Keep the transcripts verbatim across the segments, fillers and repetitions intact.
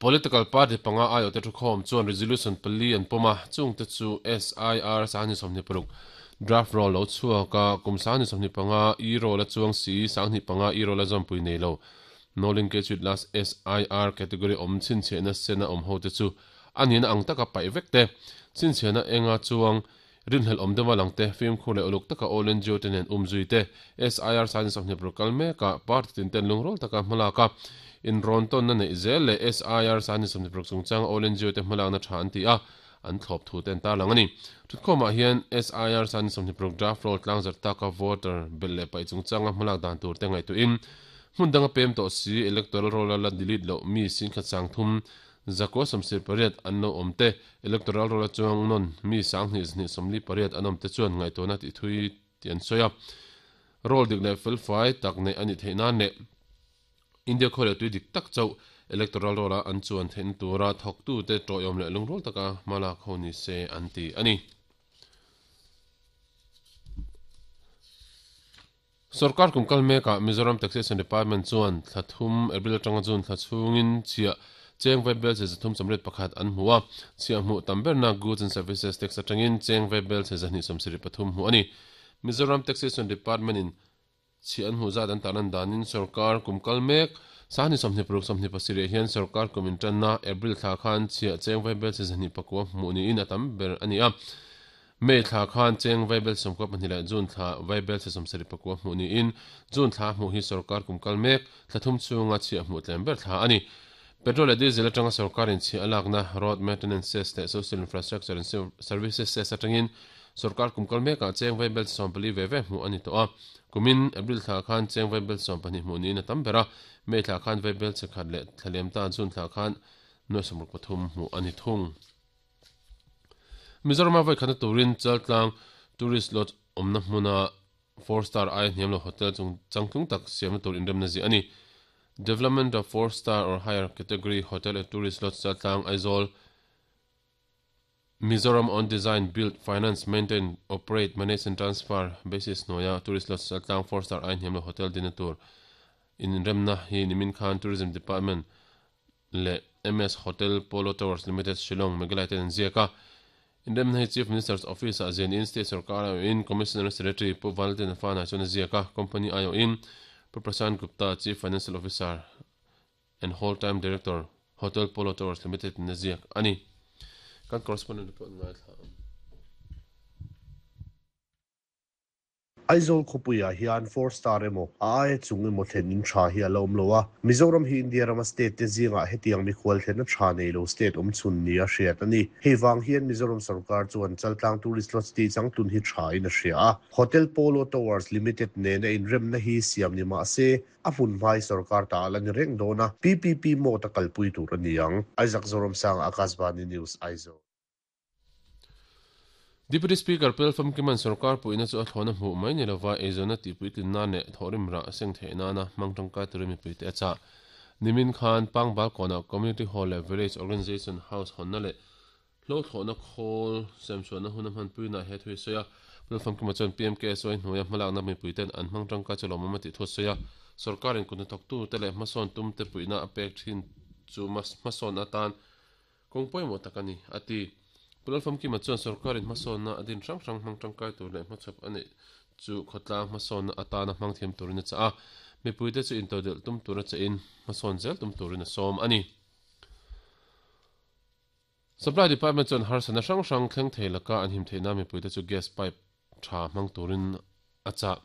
Political party panga ayo te thukhom chuan resolution pali an poma chung te chu S I R sani somni paruk draft roll lo chuaka kum sani somni panga e roll a chuang si sangni panga e roll a zompui nei lo no linkage with last S I R category om chin che na sena om ho te chu anin ang taka pai vek te chin che na enga chuang rinhel om dewa langte film khule uluk taka all N G O ten en umzui te S I R sani somni paruk me ka party tin ten lungrol taka hmalaka in ronton na nei zel le S I R sani somni paruk chungchang all N G O te hmalak na tha an ti a an thlop thu ten ta lang ani thutkhawmah hian S I R sani somni paruk draft roll tlang zar taka voter bel le pai chungchanga hmalak dan tur te ngai tu in hmun danga pem to si electoral roll la delete lo mi sing khat sang thum zako somsir pariat an lo awm te electoral roll a chuang non mi sang hnih hnih sawmli pariat an awm te chuan ngai tawna ti thui ti an sawi a roll dik leh fel fai tak nei ani theih nan leh India khawle tui dik tak chau electoral roll a an chuan theihna tura thawk tu te tawihawm leh lungrul taka hmalak ho ni se an ti ani. Sarkar kumkal meka Mizoram Taxation Department chuan thlathum April atanga June thlachungin chhia cheng vai bel che zathum samret pakhat an hmu a chhia hmu tamberna goods and services tax atangin cheng vai bel che zahni sawmsarih pathum hmu ani. Mizoram Taxation Department in chhia an hmu zat an taran danin sarkar kumkal mek sani sawmhnih paruk sawmhnih pasarih hian sarkar kum intanna April thla khan chhia cheng vai bel che zahni pakua hmu niin a tam ber ani a. May thla khan cheng vai bel sawmkua pahnih leh June thla vai bel che sawmsarih pakua hmu niin June thla hmu hi sarkar kumkal mek thlathum chunga chhia hmu tlem ber thla ani. Petrol leh diesel atanga sarkarin chhia alakna road maintenance cess leh social infrastructure and services cess atangin sarkar kumkal mekah cheng vai bel sawm pali ve ve hmu ani tawh a. Kumin April thla khan cheng vai bel sawm pahnih hmu niin a tam ber a May thla khan vai bel che khat leh thlalem ta June thla khan nuai sawmruk pathum hmu ani thung. Mizoram vai khana turin Chaltlang tourist lodge awmna hmuna four star ai hniam lo hotel chung changtlung tak siamna tur inremna zi ani. Development of four star or higher category hotel at tourist lodge Chaltlang Aizawl Mizoram on design build finance maintain operate manage and transfer basis noya tourist lodge Chaltlang four star ai hniam lo hotel dina tur inremna hi nimin khan Tourism Department le M S Hotel Polo Towers Limited Shillong Meghalaya ten ziaka. Inremna hi Chief Minister's Office a zen in State Sarkar ayo in Commissioner Secretary Pu Valentine Fana chuan ziaka company ayo in Pu Prashant Gupta Chief Financial Officer and Whole Time Director Hotel Polo Towers Limited na ziak ani. Kan correspondent report ngai thla. Aizawl khawpuiah hian four star emaw a aia chung emaw thlen in tha hi a lo awm lo a. Mizoram hi India rama state te zingah hetiang mikhual thlenna tha nei lo state awm chhun ni a hriat ani. Hei wang hian Mizoram sarkar chuan Chaltlang tourist lodge ti changtlun hi tha in a hria a. Hotel Polo Towers Limited nena inremna hi siam ni mah se a hmun hmai sarkar ta ala ni reng dawn a. P P P mode a kalpui tur ani ang. Isaac Zoramsang Akashvani News Aizawl. Deputy Speaker Pel Famkiman sarkar puina chu a thlawna hmuh mai ni lova eizawna tihpuitlin na leh thawhrim rah seng theih nana hmang tangkai turin mipui te a chah. Nimin khan Pangbal kawnah Community Hall leh Village Organization House hawnna leh hlo thlawhna khawl semchhuahna hun a hmanpuina he thui sawi a. Pel Famkima chuan P M K S Y hnuaia hmalakna mipui ten an hmang tangkai chu lawmawm a tih thu sawi a. Sarkarin kutna thawktu te leh hmasawn tum te puihna a pek thin chu hmasawn atan kawng pawimawh tak ani a ti. Pulal Famkima chuan sarkarin hmasawnna a din hrang hrang hmang tangkai tur leh hmachhawp ani chu khawtlang hmasawnna atana hmang thiam turin a chah a. Mipui te chu intodelh tum tur a chah in hmasawn zel tum turin a sawm ani. Supply Department chuan harsana hrang hrang thleng thei laka an him theihna mipui te chu gas pipe tha hmang turin a chah.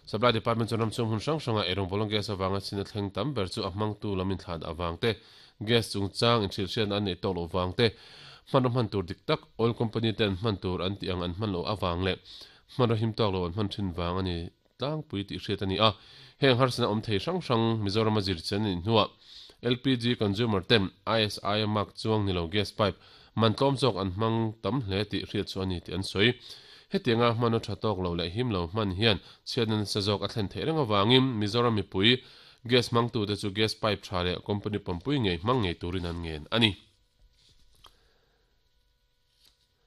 Supply Department chuan ramchhung hun hrang hranga erawng bolong gas awanga china thleng tam ber chu a hmang tu lamin thlan awang te gas chungchang inhrilhriatna an nei tawk lo wang te hmanraw hman tur dik tak oil company ten hman tur an ti ang an hman lo awang leh hmanraw him tawk lo an hman thin wang ani tlangpui tih hriat ani a. Heng harsana awm thei hrang hrang Mizoram a zir chen ani hnuah L P G consumer ten I S I mark chuang ni lo gas pipe man tlawm zawk an hmang tam hle tih hriat chu ani tih an sawi. Hetianga hmanraw tha tawk lo leh him lo hman hian chhiatna nasa zawk a thlen theih reng awangin Mizoram mipui gas hmang tu te chu gas pipe tha leh company pampui ngei hmang ngei turin an ngen ani.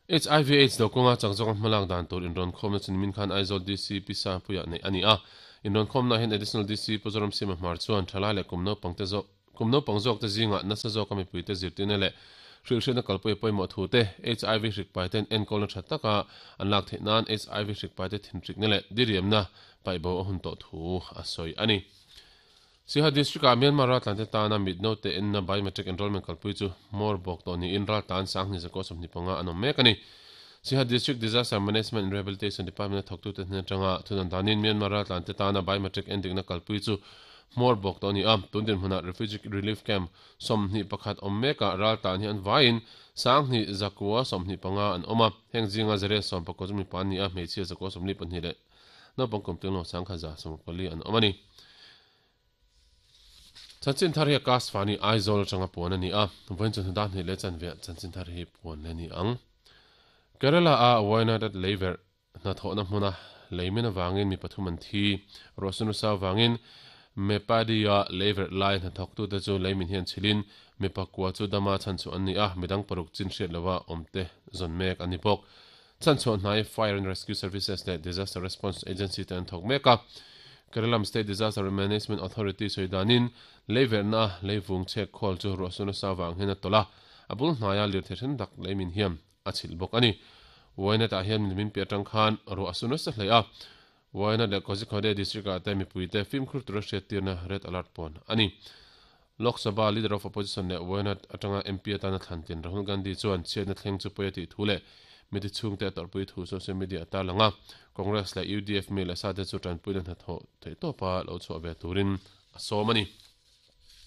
H I V AIDS do kawnga changzawng hmalak dan tur inrawn khawmna chu nimin khan Aizawl D C Pisa puiah nei ani a. Inrawn khawmna hian Additional D C Puzoram Sima Hmar chuan thalai leh kum naupang te zawk Kum naupang zawk te zingah nasa zawka mipuite zirtirna leh hrilhhriatna kalpui pawimawh thu te, H I V hrik paiten enkawlna tha taka an lak theih nan H I V hrik paite thinhrikna leh diriamna paihbo a hun tawh thu a sawi a ni. Siaha District ah Myanmar raltlan te tana mit note enna biometric enrollment kalpui chu hmawr bawk tawh niin raltlan sanghnih zakua sawmhnih panga an awm mek a ni. Siaha District Disaster Management and Rehabilitation Department a thawktute hnen atanga thudan danin Myanmar raltlan te tana biometric endikna kalpui chu hmawr bawk tawh a ni a. Tun dinhmunah Refugee Relief Camp sawmhnih pakhat awm mekah raltlan hi an vaiin sanghnih zakua sawmhnih panga an awm a. Heng zinga zariat sawm pakua chu mipa an ni a, hmeichhia zakua sawmli pahnih leh naupang kum tlinglo sangkhat za sawm pali an awm a ni. Chanchin thar hi a cast fani Aizawl atanga puan a ni a, vawiin chu hnudah hnih leh chanve chanchin thar hi puan le ni ang. Kerala a Wayanad at leiverh hnathawhna hmuna leimin avangin mi pathum an thi. Ruahsunu sa avangin Meppadi-a leiverh lai hnathawktute chu leimin hian chhilin mi pakua chu dama chhan chu an ni a, midang paruk chin hriat lova awmte zawn mek an ni bawk. Chan chhuah hnai Fire and Rescue Services leh Disaster Response Agency te an thawk mek a. Kerala State Disaster Management Authority sawidanin leiverhna leivung chhek khawl chu ruahsunu sa avang hian a tawlh a, a bul hnaia lirthei then tak leimin hian a chhilh bawk a ni. Wayanad ah hian min pi atang khan ruahsunu sa hlei a. Wayanad leh Kozhikode district ah te mipuite fimkhur tura hriat tirna red alert pawn a ni. Lok Sabha Leader of Opposition leh Wayanad atanga M P atana thlantin Rahul Gandhi chuan chhiatna thleng chu pawi a tih thu leh miti chhungte a tawrhpui thu social media a tarlang a. Congress leh U D F mi leh sa te chu tanpuina hnathawh theih tawpa lo chhuah ve turin a sawm a ni.